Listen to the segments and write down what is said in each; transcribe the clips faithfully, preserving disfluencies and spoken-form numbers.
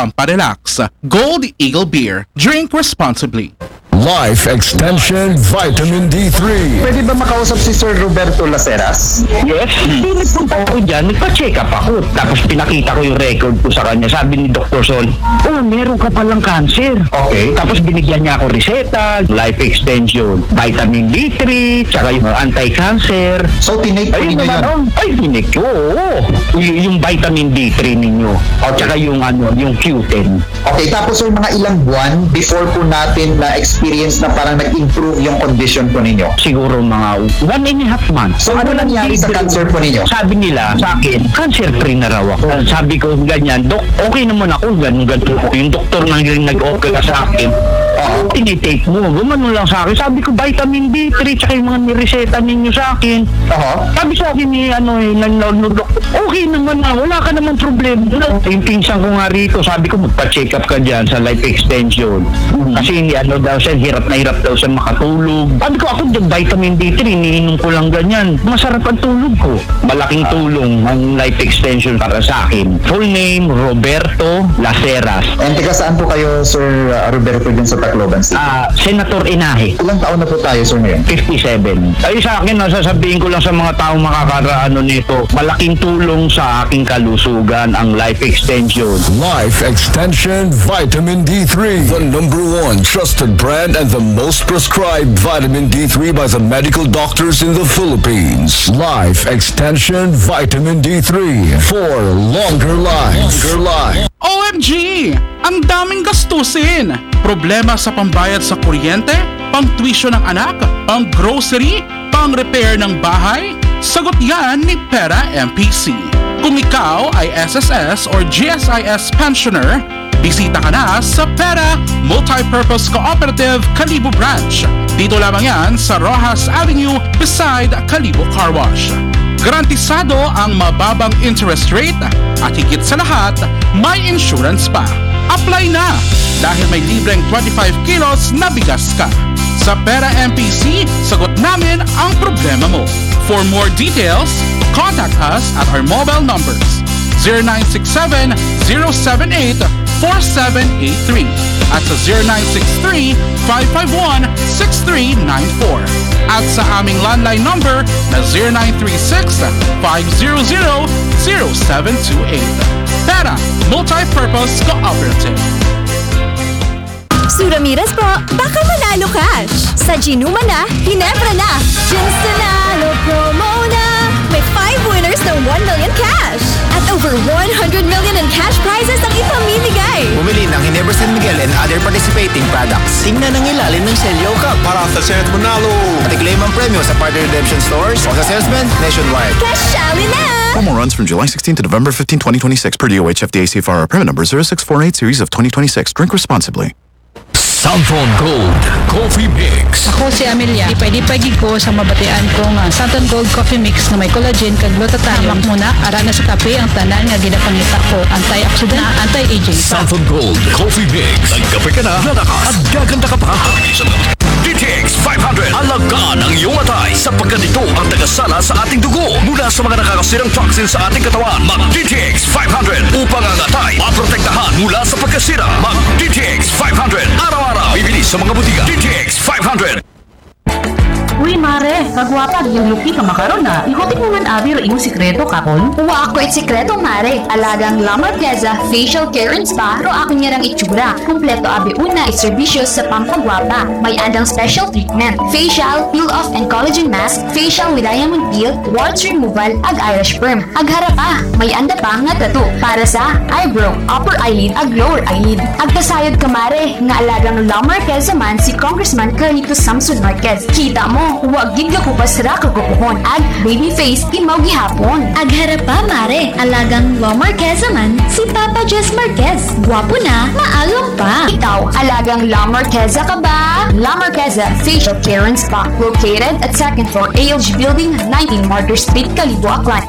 pamparelax. Gold Eagle Beer. Drink responsibly. Life Extension Vitamin D three. Pwede ba makausap si Sir Roberto Laceras? Yes. Hindi, nagpunta ako dyan, nagpa-check up ako. Tapos pinakita ko yung record ko sa kanya. Sabi ni Doktor Sol, "Oh, meron ka palang cancer." Okay. Tapos binigyan niya ako reseta, life extension, vitamin D three, tsaka yung anti-cancer. So, tinake po Ayun ninyo naman, yun? Oh, ay, tinik ko, oo. Y- yung vitamin D three ninyo. At saka yung, ano, yung Q ten. Okay, tapos sir, mga ilang buwan before po natin na-experience na parang nag-improve yung condition po ninyo? Siguro mga one and a half months. So, ano nangyari sa cancer po ninyo? Sabi nila sa akin, cancer free na raw ako. Sabi ko, ganyan, "Dok, okay naman ako, ganun, ganun ako." Yung doktor na yung nag-opera sa akin, "Tinitake mo." Gumano lang sa akin. Sabi ko, "Vitamin D three, tsaka yung mga nireseta ninyo sa akin." Aha. Sabi sa akin ni, ano, eh, ng, ng, ng doktor, "Okay naman na, wala ka naman problema." Yung pinsan ko nga rito, sabi ko, "Magpa-check up ka dyan sa life extension." Kasi, ano daw siya, hirap na hirap daw siya makatulog. Sabi ko, "Ako, vitamin D three, iniinom ko lang ganyan. Masarap ang tulog ko." Malaking tulong ang life extension para sa akin. Full name, Roberto Laceras. And taga saan po kayo, Sir uh, Roberto, dyan sa Tacloban City? Ah, Senator Inahe. Ilang taon na po tayo, sir, ngayon? fifty-seven. Ay, sa akin, nasasabihin ko lang sa mga taong makakaano nito, malaking tulong sa aking kalusugan ang life extension. Life Extension Vitamin D three, the number one trusted brand and the most prescribed vitamin D three by the medical doctors in the Philippines. Life Extension Vitamin D three for longer life. Longer life. O M G! Ang daming gastusin! Problema sa pambayad sa kuryente, pang tuition ng anak, pang grocery, pang repair ng bahay? Sagot yan ni Pera M P C. Kung ikaw ay S S S or G S I S pensioner, bisita ka na sa Pera Multipurpose Cooperative Kalibo Branch. Dito lamang yan sa Roxas Avenue beside Kalibo Car Wash. Garantisado ang mababang interest rate at higit sa lahat, may insurance pa. Apply na dahil may libreng twenty-five kilos na bigas ka. Sa Pera M P C, sagot namin ang problema mo. For more details, contact us at our mobile numbers zero nine six seven, zero seven eight, four seven eight three at sa zero nine six three, five five one, six three nine four at sa aming landline number na zero nine three six, five zero zero, zero seven two eight. Pera Multipurpose Cooperative. Suramiras po, baka manalo cash! Sa Ginuma na, Ginebra na! Ginstanalo promo na! May five winners ng one million cash! At over one hundred million in cash prizes ang ipamimigay! Bumili ng Ginebra San Miguel and other participating products. Tingnan ang ilalim ng Selyo Cup para sa chance manalo. At i-claim ang premyo sa partner redemption stores o sa salesman nationwide. Cash Alley na! Promo runs from July sixteenth to November fifteenth, twenty twenty-six, per D O H F D A C F R, permit number zero six four eight series of twenty twenty-six. Drink responsibly. Santon Gold Coffee Mix. Ako si Amelia. Ipay-ipay gid ko sa mabatian ko nga Santon Gold Coffee Mix nga may collagen kag glutathione. Hamak mo na, ara na sa kape ang tanan nga ginapangita ko. Antioxidant, anti-aging. Santon Gold Coffee Mix. Nagkape ka na, lalakas at gaganda ka pa. D T X five hundred. Alagaan ang iyong atay sapagkat ito ang tagasala sa ating dugo mula sa mga nakakasirang toxin sa ating katawan. Mag D T X five hundred upang ang atay maprotektahan mula sa pagkasira. Mag D T X five hundred. Araw-araw. Bibili sa mga butika. D T X five hundred. Uy, mare, kagwapa, yung luki ka makaron na. Ihutik mo man abi ro imong sikreto, kapon? Wa ako it sikreto, mare. Alagang La Marqueza Facial Care and Spa ro ako niya rang itsura. Kompleto abi una it serbisyo sa pampagwapa. May andang special treatment. Facial, peel off and collagen mask, facial with diamond peel, warts removal, ag eyelash perm. Ag hara pa, may anda pa nga tattoo para sa eyebrow, upper eyelid, ag lower eyelid. Ag kasayod ka, mare, nga alagang La Marqueza man si Congressman Carlito Samson Marquez. Kita mo, wa gid gakupas ra kagupuhon. Ag baby face, imaw gihapon. Ag hara pa, mare, alagang La Marqueza man si Papa Jess Marquez. Gwapo na, maalam pa. Ikaw, alagang La Marqueza ka ba? La Marqueza Facial Care and Spa, located at second floor A L G Building, nineteen Martyr Street, Kalibo, Aklan.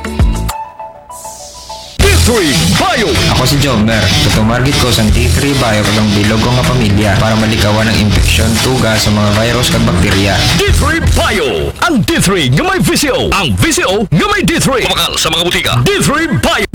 D three Bio. Ako si Jomer. Tutumargit ko sa D three Bio kag ang bilog ko nga pamilya para malikawan ang impeksyon, tuga sa mga virus kag bakterya. D three Bio. Ang D three nga may V C O. Ang V C O nga may D three. Mabakal sa mga butika. D three Bio.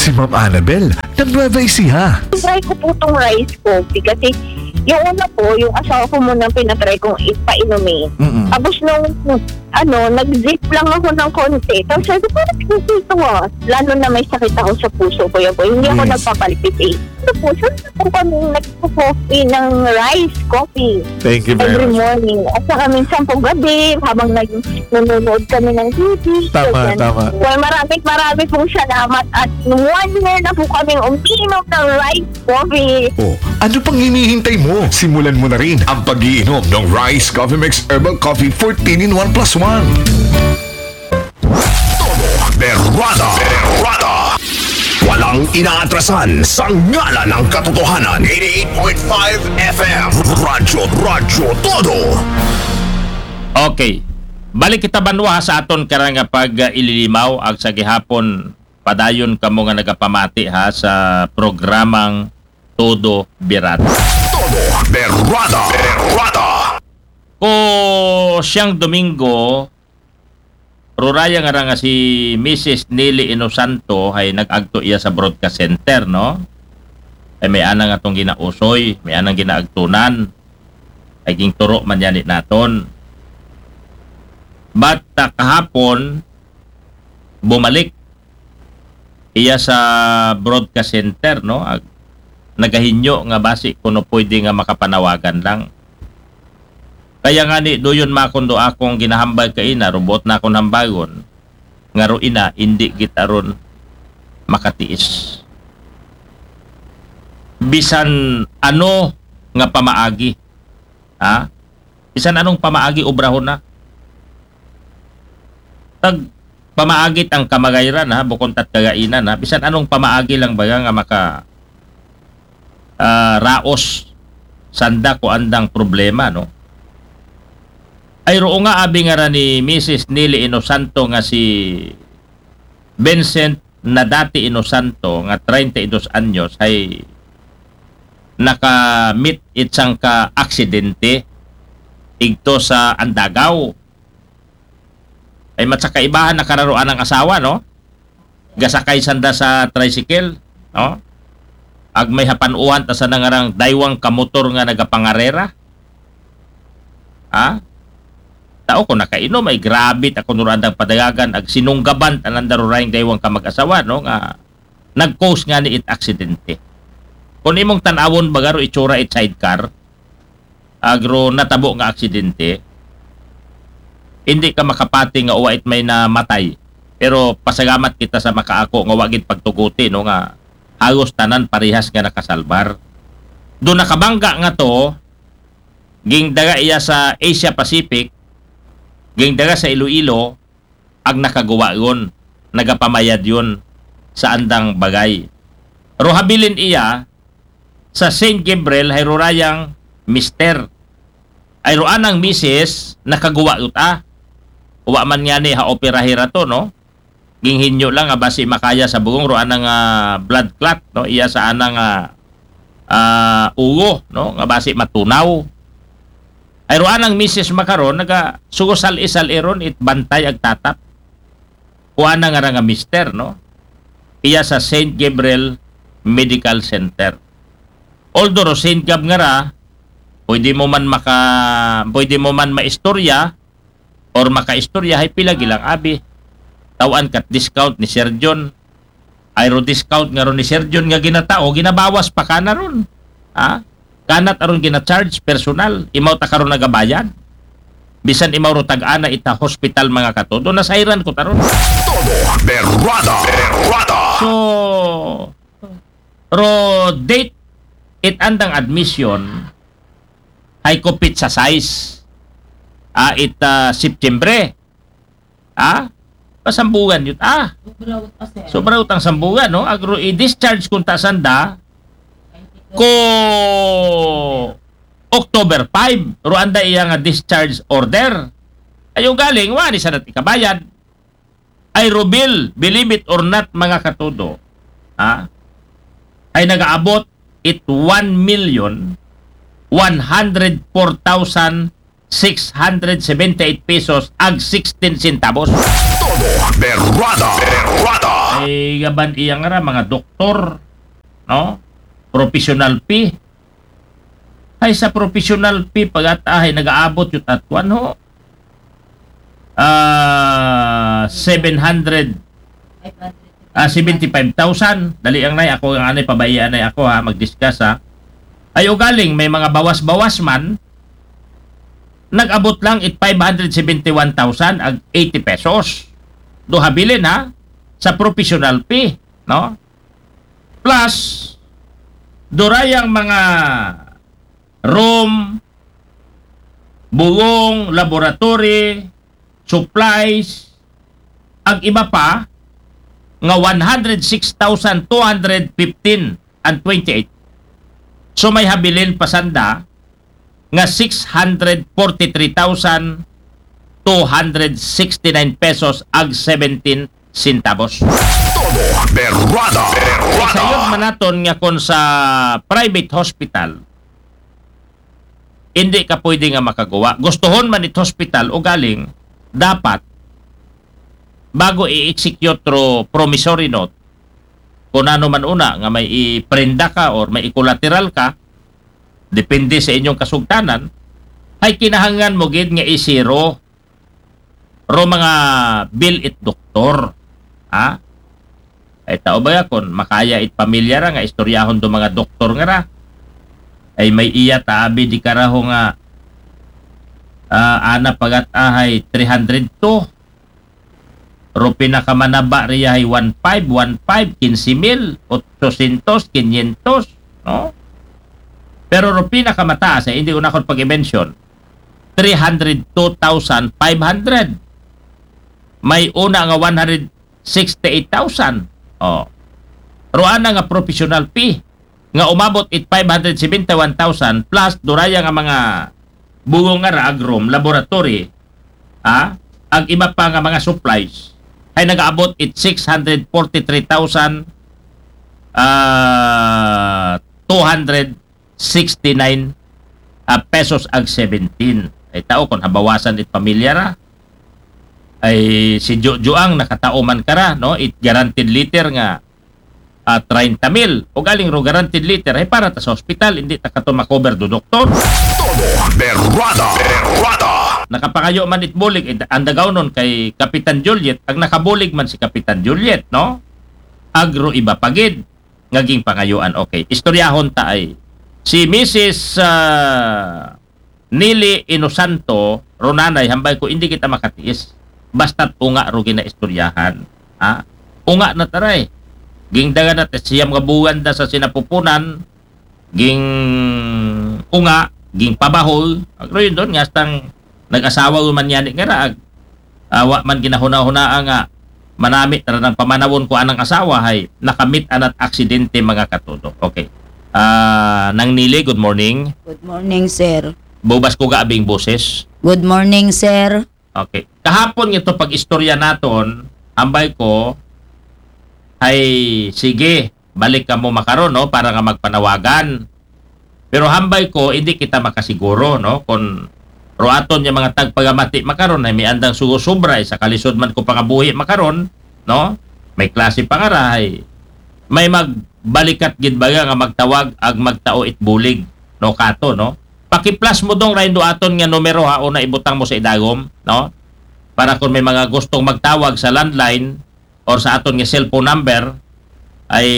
Si Ma'am Annabel ng Nueva Ecija. Try ko po itong rice coffee kasi yung una po, yung asawa ko muna ang pinatry kong ipainumin. Mm-mm. Tapos nung ano, nag-zip lang ako ng konti. Tapos sabi ko, "Parang hindi ito ah." Lalo na may sakit ako sa puso, Kuya Boy. Hindi ako Yes. nagpapalpitate. Sa puso, po kami nagpo-coffee ng rice coffee Thank you very every much. morning. At saka minsan po gabi, habang nag nanonood kami ng T V. Tama, ganyan. tama. Well, maraming maraming pong salamat at one year na po kaming umiinom ng rice coffee. Oh, ano pang hinihintay mo? Simulan mo na rin ang pag-iinom ng Rice Coffee Mix Herbal Coffee fourteen in one plus one. Todo Berrada. Berrada. Walang inaatrasan sa ngalan ng katotohanan. Eighty-eight point five F M. Radyo, Radyo Todo. Okay. Balik kita banwa sa aton karang nga pag-ililimaw ag sa gihapon padayon kamo nga nagapamati ha sa programang Todo Birada. Todo Berrada. Berrada. Ko siyang Domingo, ruraya nga ra nga si Missus Nili Inosanto ay nag-agto iya sa broadcast center, no? Ay may anang atong ginausoy, may anang ginaagtunan, ay ginturo man yan naton. But uh, kahapon, bumalik iya sa broadcast center, no? Ag, nagahinyo nga basi kuno pwede nga makapanawagan lang. Kaya nga ni, duyon makundo akong ginahambag kaina, robot na akong hambagon, nga ro ina, hindi git aron makatiis. Bisan ano nga pamaagi, ha? Bisan anong pamaagi obrahon na. Tag pamaagit ang kamagayran, ha, bukon tat kagainan, ha, bisan anong pamaagi lang baga nga maka ah, raos sanda ko andang problema, no? Ay roo nga abi nga ra ni Missus Nili Inosanto nga si Vincent na dati Inosanto nga treinta y dos anyos ay nakamit itsang ka aksidente igto sa Andagaw. Ay matsakaibahan na kararoan ng asawa, no? Gasakay sanda sa tricycle, no? Ag may hapanuhan ta sa nangarang daywang kamotor nga nagapangarera. Ha? Tao ko nakainom ay grabe ta kuno andang padagagan ag sinunggaban tanan darurayng daywang kamag-asawa, no, nga nag-cause nga ni it aksidente. Kung imong tanawon bagaro itsura it sidecar, agro natabo nga aksidente, hindi ka makapati nga uwa it may namatay. Pero pasagamat kita sa makaako nga wa gid pagtuguti, no, nga halos tanan parehas nga nakasalbar. Do nakabangga nga to, gingdaga iya sa Asia Pacific, gingdaga sa Iloilo, ag nakaguwa yon, nagapamayad yon sa andang bagay. Ro habilin iya sa Saint Gabriel hay rurayang mister. Ay ro anang misis nakaguwa yot a. Wa man nga ni ha operahi rato, no? Ginghinyo lang nga basi makaya sa bugong ro anang ah, blood clot, no? Iya sa anang ah, ah, ulo, no? Nga basi matunaw. Ay ro anang misis makaron naga sugusal isal iron it bantay ag tatap. Kuana nga ra nga mister, no? Iya sa Saint Gabriel Medical Center. Although ro Saint Gab nga ra, pwede mo man maka pwede mo man maistorya or makaistorya hay pila gilang abi. Tawan kat discount ni Sir John. Ay ro discount nga ron ni Sir John nga ginatao, ginabawas pa kana ron. Ha? Kanat aron gina-charge personal, imaw ta karon nagabayad. Bisan imaw ro tag-ana ita hospital mga katodo, nasayran ko taron. Todo Berrada. Berrada. So, ro date it andang admission hay kupit sa size. Ah, it ah, September. Ah, pasambugan yun. Ah, Sobra ut, sir. sobra utang sambugan, no? Agro i-discharge kung ta sanda ko October five, ro anda iya nga discharge order. Ay, yung galing, wani sa nat ikabayad. Ay, Rubil, believe it or not, mga katudo, ha? Ay nagaabot it one million one hundred four thousand six hundred seventy-eight pesos ag sixteen centavos. Todo Berrada. Berrada. Ay, gaban iya nga ra, mga doktor, no? Professional fee. Ay, sa professional fee, pag-at-, ay, nag-aabot yun at kuwan, ho. Ah, seven hundred, ah, seventy-five thousand. Dali ang nay, ako ang anay, pabayaan nay ako, ha, mag-discuss, ha. Ay, ugaling, may mga bawas-bawas man, nag-abot lang it five hundred seventy-one thousand ag eighty pesos. Do habilin, ha, sa professional fee, no? Plus, durayang mga room, bugong, laboratory, supplies, ag iba pa, nga one hundred six thousand two hundred fifteen and twenty-eight. So, may habilin pa sanda nga six hundred forty-three thousand two hundred sixty-nine pesos ag seventeen centavos. Todo berrada. Berrada. Sayod man naton nga kon sa private hospital, hindi ka pwede nga makagawa. Gustuhon man it hospital, ugaling, dapat, bago i-execute ro promissory note, kung ano man una, nga may iprenda ka or may ikolateral ka, depende sa inyong kasugtanan, ay kinahanglan mo gid nga isiro ro mga bill it doktor. Ha? Ay tao ba ya, kung makaya it pamilya ra nga istoryahon do mga doktor nga ra. Ay may iya ta abi di karaho nga, ah, ana pagat ahay three hundred to. Ro pinakamanaba riya ay one five, one five, quince mil, ochocientos, quinientos, no? Pero ro pinakamataas, ay hindi una ko pag-mention, three hundred two thousand five hundred. May una nga one hundred sixty-eight thousand. Oh. Ro ana nga professional fee nga umabot it five hundred seventy-one thousand plus duraya nga mga bugong nga ra ag room, laboratory, ha? Ag iba pa nga mga supplies ay nagaabot it six hundred forty-three thousand, ah, two hundred sixty-nine, ah, pesos ag seventeen. Ay tao kung habawasan it pamilya ra. Ay si Jo-, Joang nakatao man ka ra, no? It guaranteed letter nga, ah, treinta mil. Ugaling ro guaranteed letter ay para ta sa hospital, hindi ta kato makober do doktor. Todo berrada. Berrada. Nakapangayo man it bulig, it, ang dagaw nun kay Kapitan Juliet, ang nakabulig man si Kapitan Juliet, no? Ag ro iba pagid nga ginpangayuan. Okay, istoryahon ta ay. Si Missus, ah, Nili Inosanto, ro nanay, hambay ko, hindi kita makatiis. Basta't unga ro ginaistoryahan. Ha? Unga na ta ra. Gingdagan na ta siyam nga buwan da sa sinapupunan, ging unga, ging pabahol. Agro yun doon, nga hastang nag-asawa man yan, nga ra, ag-, ah, wa man ginahuna-hunaa nga manamit ra ng pamanawon ko anang asawa, hay, nakamit anat aksidente, mga katudo. Okay. Ah, Nang Nili, good morning. Good morning, sir. Bubas ko ga abing boses. Good morning, sir. Okay. Kahapon nga ito pag-istorya naton, ambay ko, ay sige, balik ka mo makaron, no, para nga magpanawagan. Pero hambay ko, hindi kita makasiguro, no, kung ruaton niya mga tagpagamati makaron, ay may andang sugo-sobra, ay sa kalisod man ko pangabuhi makaron, no, may klase pangarahay, may magbalikat gid baga nga magtawag ag magtao it bulig, no, kato, no. Pakiplas mo dong raindo aton nga numero ha, una ibutang mo sa idagom, no, para kung may mga gustong magtawag sa landline or sa aton nga cellphone number, ay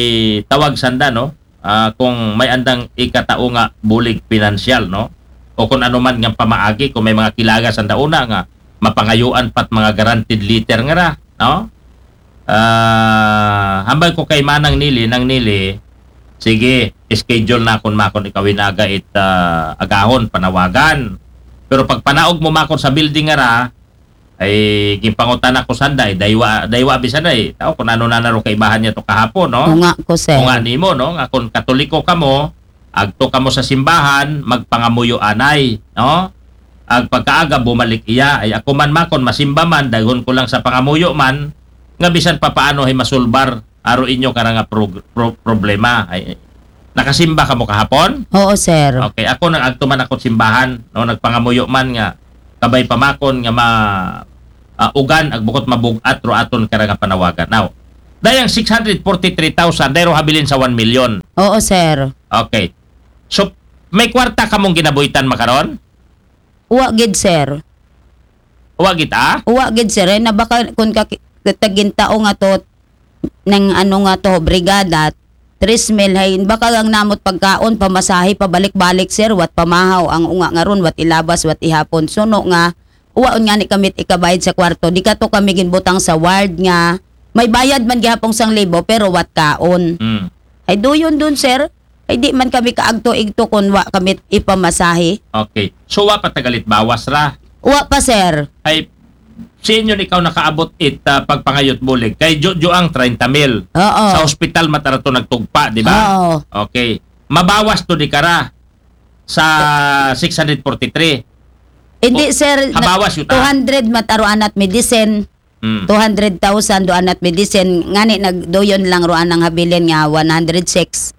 tawag sanda, no? Ah, kung may andang ikatao nga bulig pinansyal, no? O kung ano man nga pamaagi, kung may mga kilaga sanda una nga mapangayuan pat mga guaranteed letter nga ra, no? Ah, hambal ko kay Manang Nili, Nang Nili, sige, schedule na kun makon ikaw inaga it, ah, agahon, panawagan. Pero pag panaog mo makon sa building nga ra, ay ginpangutana ko sanda, eh, daywa, daywa bisan ay, tao, kung ano na naro kaibahan niya to kahapon, no? Unga ko, sir. Unga nimo, no? Nga kung Katoliko kamo, agto kamo sa simbahan, magpangamuyo anay, no? Ag pagkaaga, bumalik iya, ay ako man makon, masimba man, daghon ko lang sa pangamuyo man, nga bisan papaano ay masulbar, aro inyo kara nga prog-, pro-, problema. Ay, nakasimba kamo kahapon? Oo, sir. Okay, ako nang agto man ako simbahan, no, nagpangamuyo man nga kabay pamakon nga ma ah, ugan ag bukot mabug-at ro aton kara nga panawagan. Now, Dayang six hundred forty-three thousand, dayro habilin sa one million. Oo, sir. Okay. So, may kwarta kamong ginabuhitan makaron? Wa gid, sir. Wa gid, ah? Wa gid, sir. Eh, nabaka kun ka, katagintao nga to, nang ano nga to, brigada, tres mil, hay, baka lang namot pagkaon, pamasahe, pabalik-balik, sir, wat pamahaw, ang unga nga ron, wat ilabas, wat ihapon. Suno nga, waon nga ni kamit ikabayad sa kwarto. Di ka to kami ginbutang sa ward nga, may bayad man gihapong sang libo, pero wat kaon. Hmm. Ay, duyon dun, sir. Ay, di man kami kaagto-igto kun wa kami ipamasahe. Okay. So, wa pa tagalit bawas ra? Wa pa, sir. Ay, sa inyo ikaw nakaabot it ah, pagpangayot bulig? Kay Jojo ang treinta mil. Oo. Sa hospital matarato nagtugpa, di ba? Oo. Okay. Mabawas to di kara sa six hundred forty-three. Hindi, O, sir. habawas yuta. Two hundred mataruan at medicine. Hmm. Two hundred thousand do anat medicine. Ngani nagduyon lang ruan ang habilin nga one hundred six.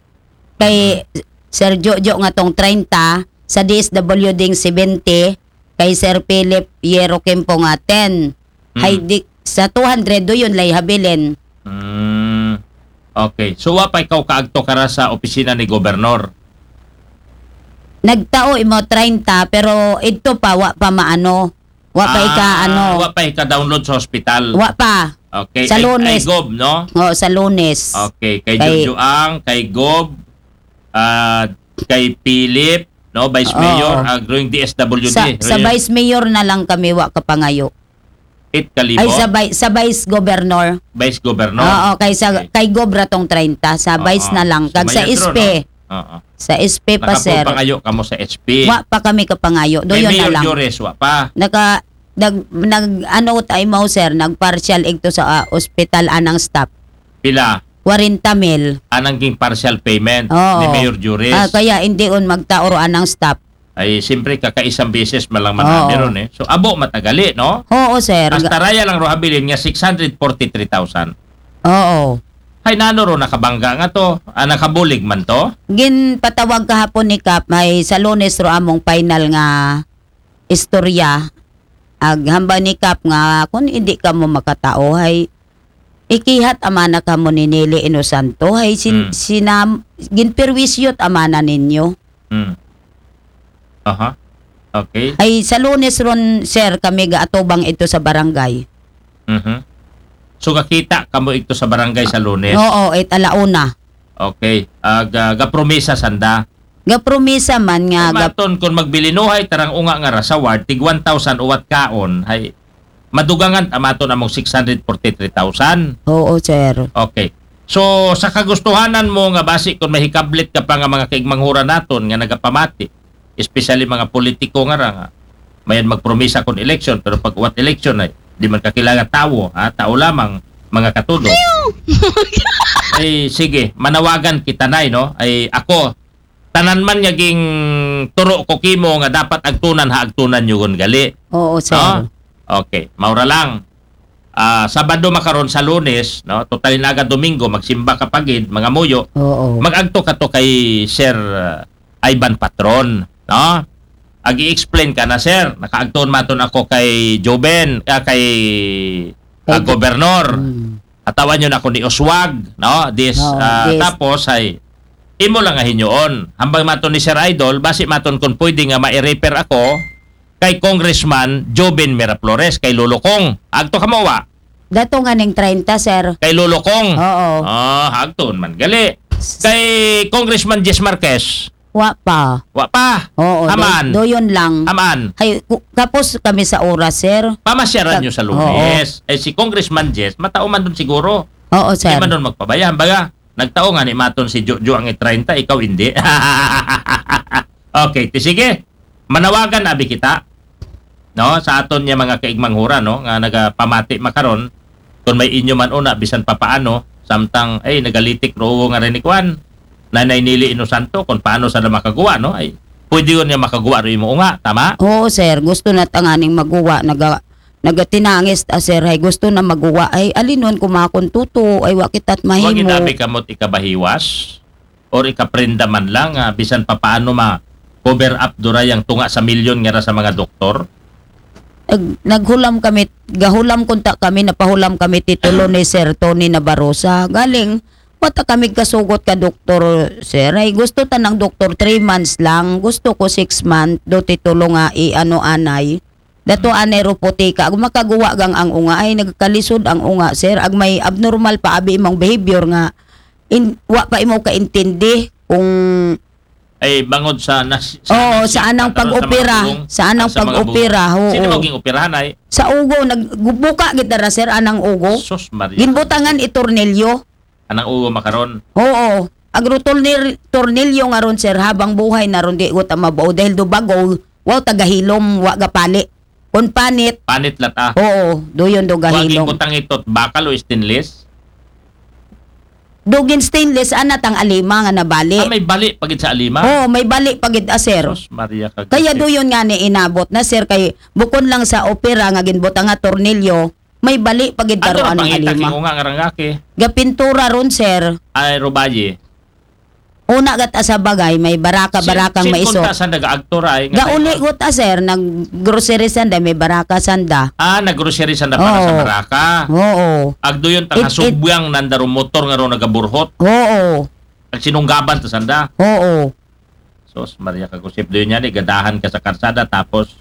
Kay Sir Jojo nga tong treinta, sa D S W ding seventy, kay Sir Philip Yero Kimpo nga ten. Hmm. Hay di, sa two hundred, duyon lay habilin. Hmm. Okay. So, wa pa ikaw kaagto kara sa opisina ni Gobernador? Nagtao imo treinta, pero idto pa, wa pa maano. Wa pa ika, Ah, ano. Wa pa ika-download sa hospital? Wa pa. Okay. Sa Ay, Lunes. Ay Gob, no? Oo, sa Lunes. Okay. Kay, Kay- Jojo ang, kay Gob, ah, kay Philip, no? Vice Oo. Mayor, ah, growing D S W D. Sa, sa Royal- Vice Mayor na lang kami wa kapangayo. It kalibo? Ay, sa, vi- sa Vice Governor. Vice Governor? Oo, kay, sa, Okay. Kay Gob ra tong treinta, sa Oo. Vice na lang. Kag sa Sumayad ron, S P. No? Oo. Sa S P pa, sir. Nakapangayo kamo sa S P? Wa pa kami kapangayo. Kay Duyon na Mayor lang. Jores, wa pa? Naka, nag, nag, ano tayo mo, sir? Nag-partial igto sa ah, ospital anang staff. Pila? Kwarenta mil. Anang ging partial payment Oo. ni Mayor Jores? Ah, kaya hindi on magtaoro anang staff. Ay, siyempre, kakaisang beses man lang Oo. manami ron eh. So, abo matagali, no? Oo, sir. Hasta raya lang ro habilin nga six hundred forty-three thousand. Oo. Hay nano ro nakabangga nga to? Ah, nakabulig man to? Ginpatawag kahapon ni Kap, may sa Lunes ro among final nga istorya. Ag hambal ni Kap nga kung hindi ka mo makatao, hay ikihat amana ka mo ni Nili Inosanto, hay sin, Hmm. sinam, ginperwisyot amana ninyo. Hmm. Aha. Okay. Ay, sa Lunes ron, sir, kami gaatubang ito sa barangay. Mhm. So, kakita kamo ito sa barangay sa Lunes? Oo, it alauna. Okay. Ah, ga, gapromisa sanda? Gapromisa man nga, gap- Maton, kung magbilinuhay, tarang unga nga ra sa ward, tig one thousand uwat kaon, hay, madugangan amaton among six hundred forty-three thousand. Oo, sir. Okay. So, sa kagustuhanan mo nga basi kung mahikablit ka pa nga mga kaigmanghuran naton nga nagapamati, especially mga politiko nga ra nga, mayan magpromisa kung election, pero pag uwat election ay, di man kakilala tawo, ha? Tao lamang, mga katudo. Ay, sige, manawagan kita, Nay, no? Ay, ako, tanan man nga ging turo ko kimo nga dapat agtunan ha, agtunan nyo gali. Oo, sir. No? Okay, maura lang. Ah, Sabado makaron sa Lunes, no? Total na agad Domingo, magsimba ka pagid, mga muyo. Oo. Mag-agto ka to kay Sir ah, Ivan Patron, no? Ag-i-explain ka na, sir. Nakaagton maton ako kay Joven, ah, kay ah, Kay Jo- Gobernador. Mm. Atawan nyo na ako ni Oswag, no? This, Oo, ah, this. Tapos ay, imo lang nga hinyoon. Hambang maton ni Sir Idol, basi maton kung pwede nga ma-refer ako kay Congressman Joven Miraflores, kay Lolo Kong. Agto ka mo, wa? Dato nga ning treinta, sir. Kay Lolo Kong. Oo. Ah, agton man. Gali. Kay Congressman Jess Marquez. Wa pa. Wa pa. Oo, Haman. do, doyon lang. Haman. Ay, ku- kapos kami sa oras, sir. Pamasyaran Kag- nyo sa Lunes. Eh, si Congressman Jess, matao man dun siguro. Oo, Di sir. man dun magpabayaan. Baga, nagtao nga ni maton si Jojo ang treinta, ikaw hindi. Okay, ti sige. Manawagan abi kita. No, sa aton niya mga kaigmanghura, no, nga nagapamati makaron, kung may inyo man una, bisan papaano, samtang, ay, nagalitik ro nga rin ni Kwan, Nanay Nili Inosanto, kung paano sa na makaguwa, no? Ay, pwede yun niya makaguwa ro imo nga, tama? Oo, sir. Gusto na tanganing maguwa. Naga, nagatinangis ta, sir. Ay, gusto na maguwa. Ay, alinon ko makon tuto. Ay, wa kita't Huwag mahimo. inabi kamot ikabahiwas or ikaprenda man lang, ah, bisan papaano ma-cover up duray ang tunga sa milyon nga ra sa mga doktor. Nag, naghulam kami, gahulam kunta kami, napahulam kami titulo ni Sir Tony Nabarosa. Galing, wa ta kami kasugot ka doktor, sir. Ay, gusto ta ng doktor, three months lang. Gusto ko six months, do titulo nga i-ano anay. Dato anay ropotika. Ag makaguwa gang ang unga, ay nagkalisod ang unga, sir. Ag may abnormal pa abi imong behavior nga in, wa pa imo kaintindi kung Ay, bangod sa nas, Oo, sa anang pag-opera. Sa anang pag-opera, oo. Sino maging operahan ay? Sa ugo, nagbuka gid ra, sir, anang ugo. Sus Maria. Ginbutangan i tornilyo. Anang ugo makaron? Oo. Ag ro tornil-, tornilyo nga ron, sir, habang buhay na ron, di ko ta mabao dahil do bago, wow, tagahilom, wa gapali. Kon panit, Panit lat ah. Oo, do yun do Waging gahilom. Butang itot, bakal o stainless? Dugin stainless, ana tang alima nga nabali. Ah, may bali pagid sa alima? Oo, may bali pagid, ah, sir. Sus Maria ka. Kaya do yun nga ni inabot na, sir, kay bukon lang sa opera nga ginbutang nga tornilyo, may bali pagid Ato karoan na ang pangita alima. Kingunga nga rangaki. Gapintura ron, sir. Ay, Rubaye. Una gat sa bagay, may baraka, Sin- barakang sin maiso. Kunta sanda ga-actor ay. Nga Gauli tayo. Got, ah, sir, nag-grocery sanda, may baraka sanda. Ah, nag-grocery sanda para sa Oo. baraka. Oo. Agdo yun, ta It- nga it- subyang nanda ro motor nga ro nagaburhot. Oo. Ag sinunggaban ta sanda. Oo. Sus Maria ka gusip, do yun yan, eh, gadahan ka sa karsada, tapos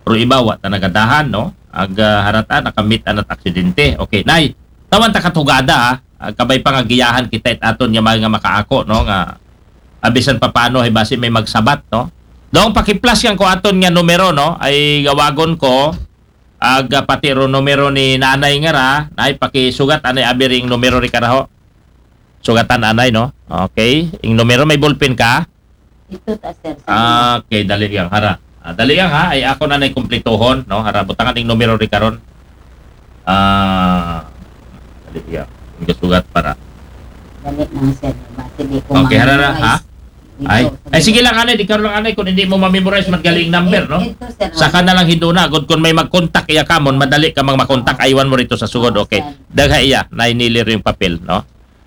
ro iba, wa ta nagadahan, no? Ag ah, harata, nakamit anat aksidente. Okay, nay, tawan ta katugada, ha? Ag kabay pa nga giyahan kita it aton nga mga makaako, no? Nga abisan papano, hay basi may magsabat, no? Dong, pakiplas yan ko aton nga numero, no? Ay gawagon ko, ag ah, pati ro numero ni nanay nga ra, nay, pakisugat, anay, abi ring numero ri karaho. Sugatan, anay, no? Okay. Ing numero, may ballpen ka? Ito ta, sir. Ah, okay, dali yang hara. Ah, dali yang ha, ay ako na na'y kumplituhon, no? Hara, butangan ing numero ri karon. Ah, dali yang. Ang sugat para. Dali lang, sir. Bati di ko Okay, hara na, ha? Ay, ay sige lang, anay, di karon lang, anay, kung hindi mo ma-memorize man galing number, no? Saka na lang hiduna, gud kung may mag-contact iya kamon, madali ka mang makontak, aywan mo rito sa sugod, okay. Dagha iya, nainili rin yung papel, no?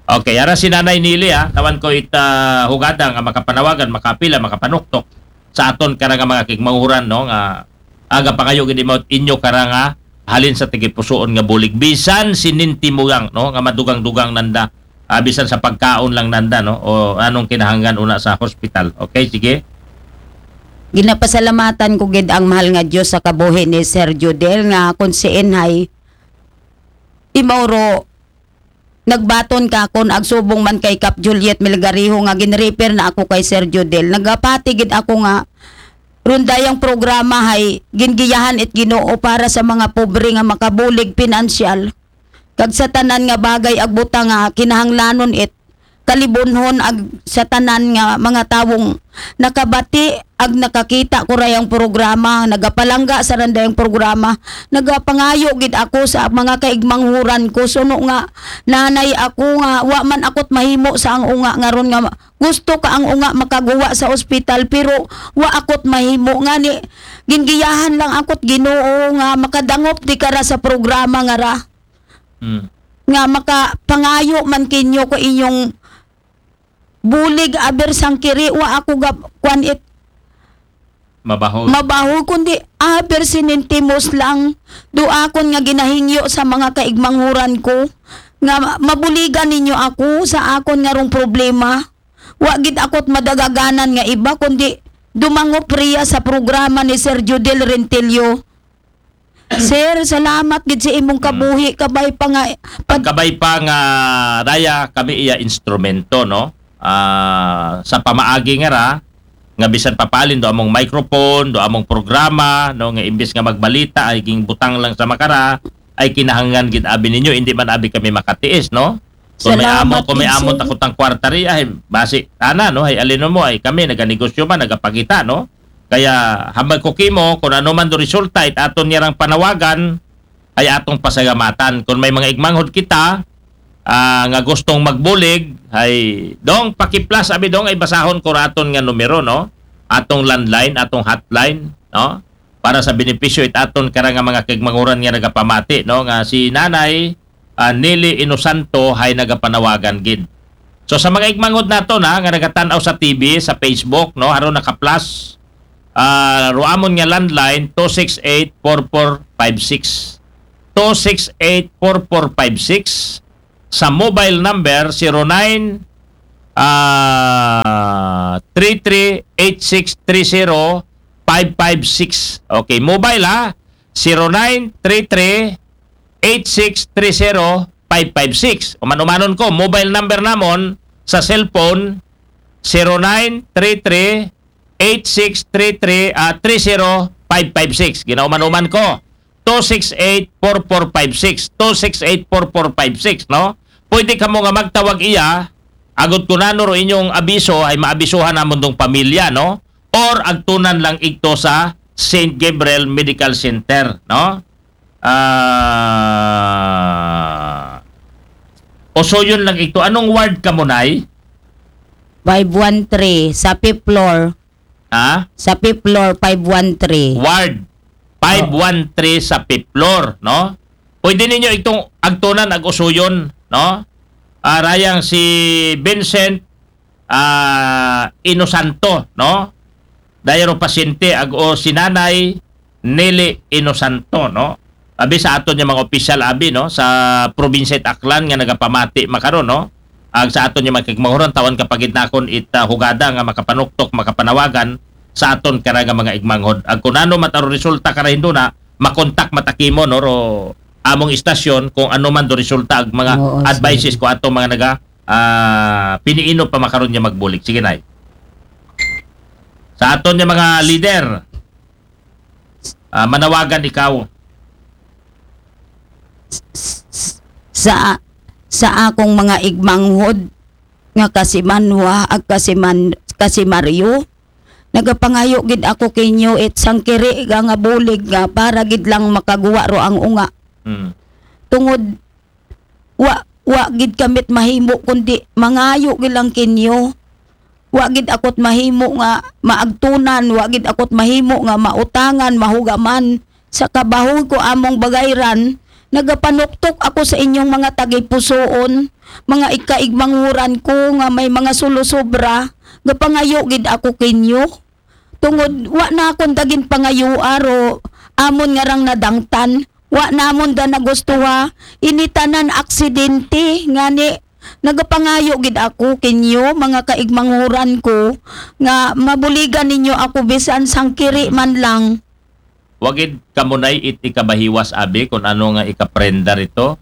Okay, ara si Nanay Nili, ha, tawan ko ita hugada nga makapanawagan, makapila, makapanuktok sa aton kara nga mga kigmanghuran, no, nga aga pangayo gid mo inyo kara nga halin sa tigipusuon nga bulig, bisan sinintimo lang, no, nga madugang-dugang nanda, ah, bisan sa pagkaon lang nanda, no, o anong kinahanglan una sa hospital. Okay, sige. Ginapasalamatan ko gid ang mahal nga Dios sa kabuhi ni Sir Judel nga kung siin hay imaw ro nagbaton ka kon agsubong man kay Kap Juliet Melgariho nga ginrefer na ako kay Sir Judel. Nagapati gid ako nga rundayang programa hay gingiyahan it Ginoo para sa mga pobre nga makabulig pinansyal. Kag sa tanan nga bagay ag butang nga kinahanglanon it kalibunhon ag sa tanan nga mga tawong nakabati ag nakakita ko rayang programa, nagapalangga sa randayang programa, nagapangayo gid ako sa mga kaigmanghuran ko, suno nga nanay ako nga wa man ako't mahimo sa ang unga nga ron nga gusto ka ang unga makaguwa sa ospital pero wa ako't mahimo ngani gingiyahan lang ako't Ginoo nga makadangop di kara sa programa nga ra. Hmm. Nga makapangayo man kinyo ko inyong bulig aber sangkiri wa ako gab kwan it Mabaho. Mabaho kundi aber sinintimos lang do akon nga ginahingyo sa mga kaigmanghuran ko nga ma- mabuligan ninyo ako sa akon nga rong problema. Wa gid ako't madagaganan nga iba kundi dumangop riya sa programa ni Sir Judel Rentillo. Sir, salamat gid sa imong kabuhi, kabay pa nga pag- Pagkabay pa nga raya kami iya instrumento, no? Ah, sa pamaagi nga ra nga bisan papalin do among microphone, do among programa, no, nga imbis nga magbalita ay gingbutang lang sa makara, ay kinahanglan gid abi ninyo, hindi man abi kami makatiis, no? Kung may Salamat amo, kung may gid, amo sir. Takutang kwarta ri ay basi ana, no, ay alin mo ay kami naganegosyo man, nagapakita, no? Kaya hambal ko kimo kung ano man do resulta it aton niyarang panawagan ay atong pasalamatan. Kung may mga igmanghod kita ah, nga gustong magbulig ay dong pakiplas abi dong ay basahon ko raton nga numero, no? Atong landline, atong hotline, no? Para sa benepisyo it aton kara nga mga kigmanguran nga nagapamati, no, nga si Nanay ah, Nili Inosanto hay nagapanawagan gid. So sa mga igmangod nato na nga nagatan-aw sa T V, sa Facebook, no, aron naka-plus Ah, ruamon nga landline, two six eight, four four five six. Two six eight, four four five six. Sa mobile number, zero nine, ah, three three eight six three zero five five six. Okay, mobile ha, zero nine three three eight six three zero five five six. Uman-umanon ko, mobile number namon sa cellphone, zero nine three three eight six three three, ah, three zero five five six. Ginauman-uman ko, two six eight, four four five six. Two six eight, four four five six, no? Pwede kamo nga magtawag iya, agod kun ano ro inyong abiso, ay maabisuhan namon dong pamilya, no? Or agtunan lang igto sa Saint Gabriel Medical Center, no? Ah, Osoyon lang igto. Anong ward kamo, Nay? Five one three sa fifth floor. Ha? Sa fifth floor, five one three. Ward five one three sa fifth floor, no? Pwede ninyo itong agtunan ag Osoyon, no? Ah, rayang si Vincent, ah, Inosanto, no? Dayaro pasyente ag o si Nanay Nelly Inosanto, no? Abi sa aton nga mga opisyal abi, no, sa probinsya it Aklan nga nagapamati makaron, no? Ag sa aton nga mga kaigmanghuran, tawan ka pagid nakon it, ah, hugada nga makapanuktok, makapanawagan sa aton kara nga mga igmanghod. Ag kun ano man it aro resulta kara hinduna, makontak man ta kimo, no, ro among istasyon kung ano man do resulta ag mga Oo, advices sige. Ko atong mga naga, ah, piniino pa makaron nga magbulig. Sige, Nay. Sa aton nga mga leader, ah, manawagan ikaw. Sa sa akong mga igmanghod nga kasimanwa ag kasiman kasimaryo, nagapangayo gid ako kinyo it sangkiri nga, nga bulig nga para gid lang makaguwa ro ang unga. Hmm. Tungod wa wa gid kamit mahimo kundi mangayo gid lang kinyo. Wa gid ako't mahimo nga maagtunan, wa gid ako't mahimo nga mautangan, mahugaman. Sa kabahoy ko among bagayran, nagapanuktok ako sa inyong mga tagipusoon, mga ikaigmanguran ko nga may mga sulosobra, gapangayo gid ako kinyo. Tungod wa na akon dagin pangayua ro amon nga rang nadangtan, wa namon da nagustuha, ini tanan aksidente, ngani nagapangayo gid ako kinyo, mga kaigmanguran ko, nga mabuligan ninyo ako bisan sangkiri man lang. Wa gid kamo, Nay, it ikabahiwas abi kun ano nga ikaprenda rito.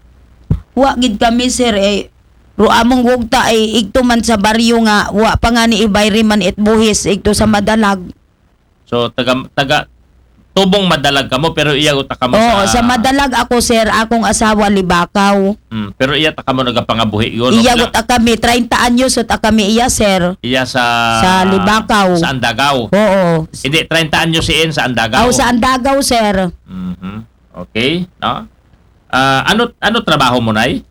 Wa gid kami, sir, eh. Ro among wugta ay igto man sa baryo nga wa pa nga ni ibayri man it buhis igto sa Madalag. So taga taga tubong Madalag kamo pero iya guta kamo Oo, sa sa Madalag ako, sir, akong asawa Libakaw. Mm, pero iya ta kamo nagapangabuhi, no? Iya Pila- guta kami, treinta anyos ta kami iya, sir. Iya sa Sa Libakaw. Sa Andagaw. Oo. Hindi, treinta anyos siin sa Andagaw. Aw, sa Andagaw, sir. Mhm. Okay, no? Ah, ano ano trabaho mo, Nay?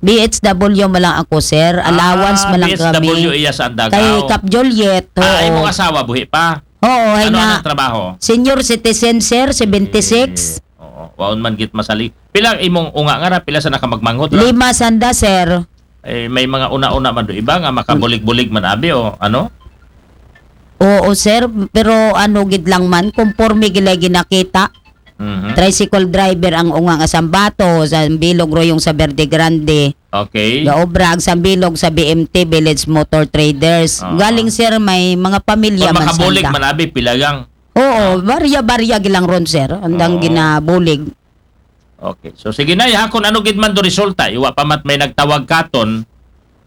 B H W man lang ako, sir. Allowance Ah, man lang B H W kami. Iya sa Andagaw. Kay Cap Juliet. Oo. Ah, imong asawa buhi pa. Oo, ay Ano na. ang trabaho? Senior citizen, sir, seventy-six. Eh, oo. Waon man git masali. Pila imong unga nga ra, pila sa nakamagmanghod ra? Lima sanda, sir. Eh, may mga una-una man do iba nga makabulig-bulig man abi o ano? Oo, sir, pero ano gid lang man, konporme gid lay ginakita. Mhm. Tricycle driver ang unga nga sambato, sa Bilog Royong sa Verde Grande. Okay. Gaobra ag sambilog sa B M T, Village Motor Traders. Oo. Galing, sir, may mga pamilya Kung man makabulig sanda. Man abi, pila lang? Oo, barya-barya gilang ron, sir. Andang Oo. Ginabulig. Okay. So sige na, ha, kung ano gid man do resulta, iwa pa mat may nagtawag katon,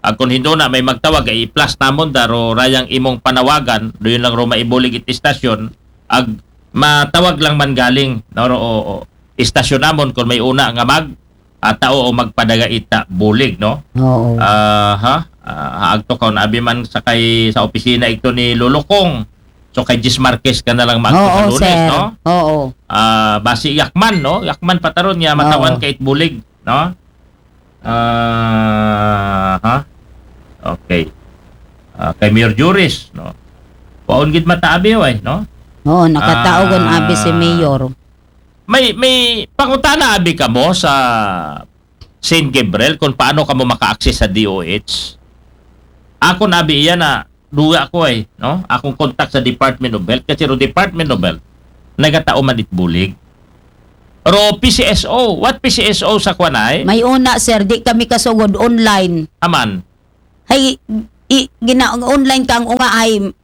ag kung hinduna may magtawag, ay i-plus namon da ro rayang imong panawagan, do yun lang ro maibulig it istasyon, ag matawag lang man galing, no, ro, o, o, istasyon namon kung may una nga mag, ah, tao o magpadaga ita bulig, no? Oo. Aha. Ah, agto ka, abi man sa kay sa opisina ito ni Lolo Kong. So kay Jis Marquez ka na lang magto sa Oo, Lunes, sir. No? Oo. Ah, basi yakman, no? Yakman pataron niya matawan Oo. Kay it bulig, no? Ah, ha? Okay. Ah, kay Mayor Juris, no? Paon gid mataabi, way, no? Oo, nakataogon Ah. Abi si Mayor. May may pangutana abi kamo sa Saint Gabriel kung paano kamo maka-access sa D O H? Ako na abi iya na duwa ko ay, no? Akong contact sa Department of Health, kasi ro Department of Health, nagatao man it bulig. Ro P C S O, what P C S O sa kwan ay? May una, sir, di kami kasugod online. Aman. Hay, i, gina, online kang unga ay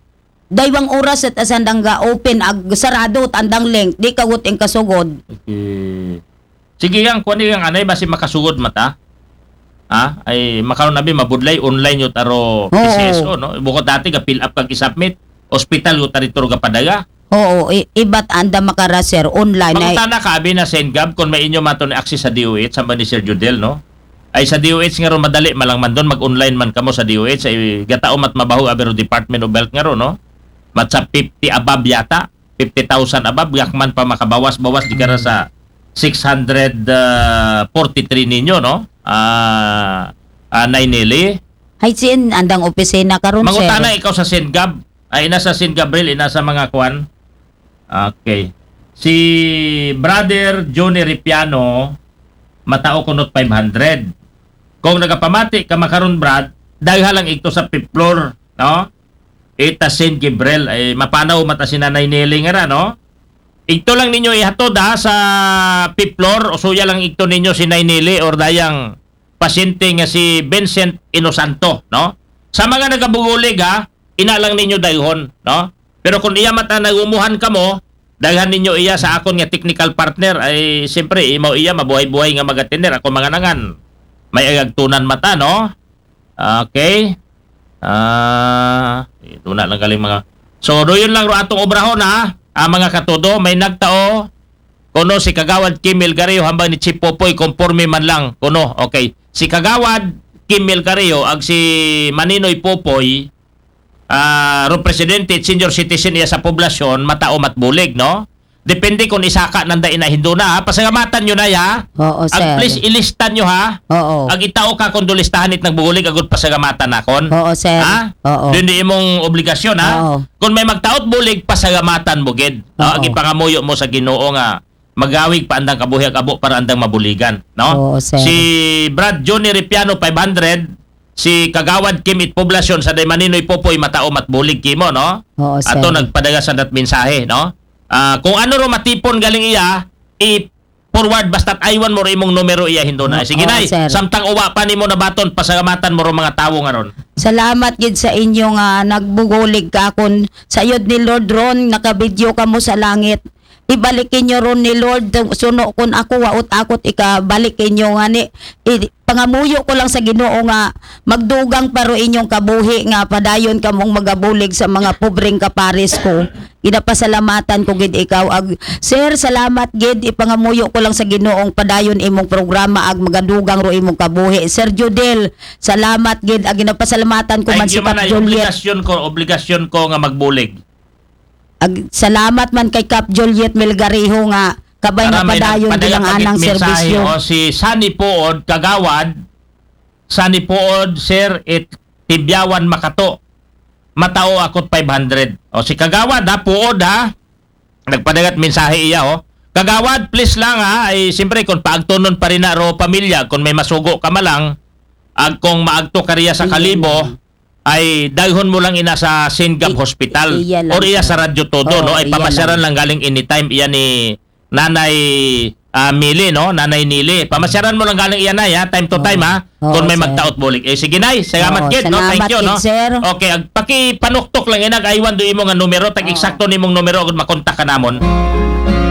daywang oras at asandang ga open ag sarado at andang link, di kagut ing kasugod. Okay. Sige yang, kwan yang anay, basi makasugod mata. Ha? Ay, makaron abi mabudlay, online yun aro P C S O, no? Bukod dati, ga-fill up kag i-submit. Hospital yun taritor ga padala. Oo, i, ibat anda makara, sir, online ay. Mangutana ka, abi na Sengab, kung may inyo maton access sa D O H, samba ni Sir Judel, no? Ay sa D O H nga ron, madali malang man doon, mag-online man kamo sa D O H, ay gatao mat mabaho, abi ro Department of Health nga ron, no? Mat sa fifty above yata, fifty thousand above, gakman pa makabawas-bawas, di kara sa six hundred forty-three ninyo, no? Ah, ah, Nay Nelly. Hay, sin, andang opisina karon, sir. Mangutana ikaw sa Sengab. Ay, ina sa Sengab, Bril, ina sa mga kwan. Okay. Si Brother Johnny Ripiano, matao kunot five hundred. Kung nagapamati ka makaron, Brad, dagha lang igto sa fifth floor, no? Ita Saint Gabriel, ay mapanaw mata si Nanay Nelly nga ra, no? Igto lang ninyo ihatod, ha, sa fifth floor, o suya lang igto ninyo si Nay Nelly or dayang pasyente nga si Vincent Inosanto, no? Sa mga nagabugulig, ha, ina lang ninyo dayhon, no? Pero kung iya mata nagumuhan kamo, daghan ninyo iya sa akon nga technical partner, ay siyempre, imaw iya, mabuhay-buhay nga magatiner, ako mga nangan. May agagtunan mata, no? Okay. Ah, ito na lang galing mga. So, do yun lang ro atong obrahon, ha. Ah, mga katodo, may nagtao, kuno si Kagawad Kim Melgario hambang ni Chief Popoy, konporme man lang, kuno. Okay. Si Kagawad Kim Melgario ag si Maninoy Popoy, ah, ro presidente at senior citizen iya sa poblasyon, matao mat bulig, no? Depende kung isaka nanda ina hindo na, ha? Pasalamatan nyo na, ha? Oo, sir. Ag please ilista nyo, ha? Oo. Ag itao ka kung dulistahan it nagbugulig agud pasalamatan nakon. Oo, sir. Ha? Oo. Dun di imong obligasyon, ha? Oo. Kung may magtaot bulig, pasalamatan mo gid. No? Oo. Ag ipangamuyo mo sa Ginoo nga magawig pa andang kabuhi ag abo para andang mabuligan, no? Oo, sir. Si Brad Johnny Ripiano, five hundred, si Kagawad Kim It Poblasyon sa Daymaninoy Popoy, matao mat bulig kimo, no? Oo, sir. Ato nagpadala sa dat mensahe, no? Ah, kung ano ro matipon galing iya, i-forward basta't aywan mo ro imong numero iya hindo na. Oo, Sige, Nay, sir. Samtang uwa pa nimo nabaton, pasalamatan mo ro mga tawo nga ron. Salamat gid sa inyo nga nagbugulig ka akon. Sayod ni Lord ron, nakabidyo kamo sa langit. Ibalik inyo ron ni Lord, suno kun ako, waot akot ikabalik inyo nga ni, i, pangamuyo ko lang sa Ginoo nga magdugang pa ro inyong kabuhi nga padayon kamong magabulig sa mga pobreng kapares ko. Ginapasalamatan ko gid ikaw. Ag, sir, salamat gid. Ipangamuyo ko lang sa Ginoong padayon imong programa ag magadugang ro imong kabuhi. Sir Judel, salamat gid. Ag ginapasalamatan ko man Thank si you, man. Kap Ay, Juliet. Obligasyon ko, obligasyon ko nga magbulig. Ag, salamat man kay Kap Juliet Melgarejo nga kabay nga Para may padayon nagpadala bilang pag anang mensahe, serbisyo. O, si Sunny Puod, Kagawad, Sunny Puod, sir, it Tibyawan Makato. Matao akot five hundred. O, si Kagawad, ha, Puod, ha. Nagpadagat mensahe iya, o. Kagawad, please lang, ha. Ay, siyempre, kung paagtunon pa rin na ro pamilya, kung may masugo ka malang, ag kung maagto ka riya sa Kalibo, ay daghon mo lang ina sa Singap I- Hospital iya lang, or iya sir. Sa Radyo Todo, Oo, no? Ay iya pamasyaran lang. Lang galing anytime iya ni Nanay, ah, Mili, no? Nanay Nili. Pamasyaran mo lang galing iya, Nay, ha? Time to Oo. Time, ha? Oo, Kung may sir. Magtaot Bulig. Eh, sige, Nay. Salamat Oo, gid, no? salamat Thank you, gid, no? Sir. Okay, ag pakipanuktok lang inag aywan do imo nga numero, tag Oo. eksakto nimong numero agud makontak ka namon.